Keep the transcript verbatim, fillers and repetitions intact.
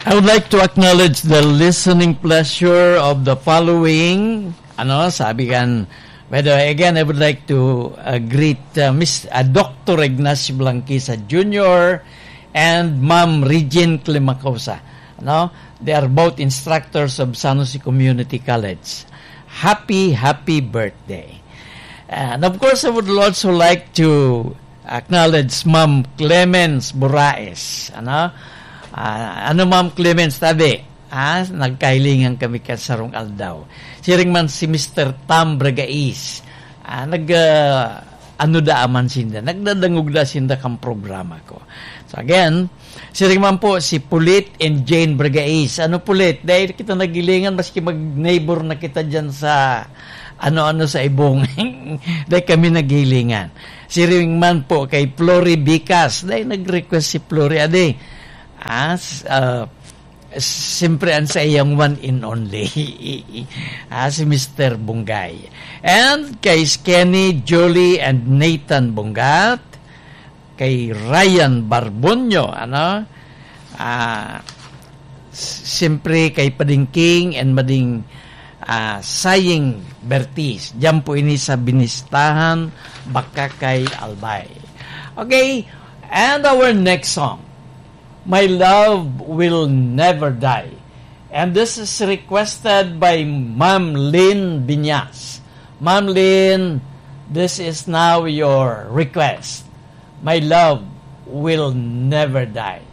I would like to acknowledge the listening pleasure of the following. Ano, sabi kan, by the way, again, I would like to uh, greet uh, Miss uh, Doctor Ignacio Blanquisa Junior and Ma'am Regine Climacosa. Ano, they are both instructors of San Jose Community College. Happy, happy birthday. And of course, I would also like to acknowledge Ma'am Clemens Buraes. Ano? Ah, ano, Ma'am Clemens, tabi? Ah, nagkahilingan kami ka sarong aldaw. Siring man si Mister Tam Bragais. Ah, nag, ah, ano da man sinda? Nagdadangog da sinda kang programa ko. So again, siring man po si Pulit and Jane Bragais. Ano, Pulit? Dahil kita nagilingan, maski mag-neighbor na kita dyan sa ano-ano sa Ibong. Dahil kami nagilingan. Siring man po kay Flory Bicas. Dahil nag-request si Flory, ade. Ah, s- ah, siyempre ang sa iyang one and only. Ah, si Mister Bungay. And kay Kenny, Julie, and Nathan Bungat, kay Ryan Barbonyo, ano? Ah, s- siyempre kay Pading King and Mading ah, Saying Bertis. Diyan po ini sa Binistahan, Bacacay, Albay. Okay, and our next song, My Love Will Never Die. And this is requested by Ma'am Lynn Binyas. Ma'am Lynn, this is now your request. My Love Will Never Die.